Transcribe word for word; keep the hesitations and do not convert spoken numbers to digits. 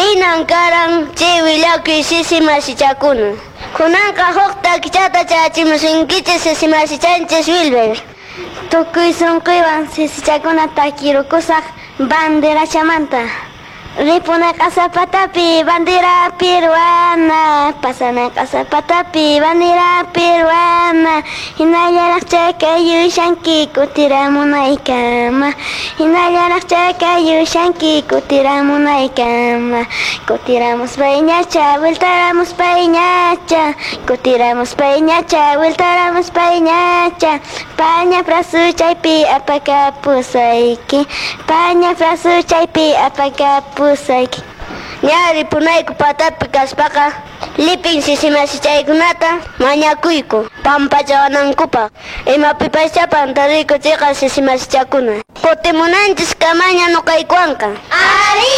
Hinan karan chay willakuy sisi masichakuna. Kunanqa huk takichata chayachimusunkichis sisi masichanchis Wilber. Tukuy sunquywan sisichakuna takirukusaq banderachamanta. Ripuna q'asapatapi bandera peruana, pasana q'asapatapi bandera peruana, hinallaraq chakayushanki kutiramunaykama, hinallaraq chakayushanki kutiramunaykama, kutiramuspayñacha, vueltaramuspayñacha, kutiramuspayñacha, vueltaramuspayñacha, paña frasuchaypi apakapusayki, paña frasuchaypi apakapusayki. Ña ripunayku patapi kaspaqa lipin sisi masichaykunata mañakuyku pampachawanankupaq imapipascha pantariyku chayqa sisi masichakuna. Kutimunanchis kamaña nuqaykuwanqa. Arí.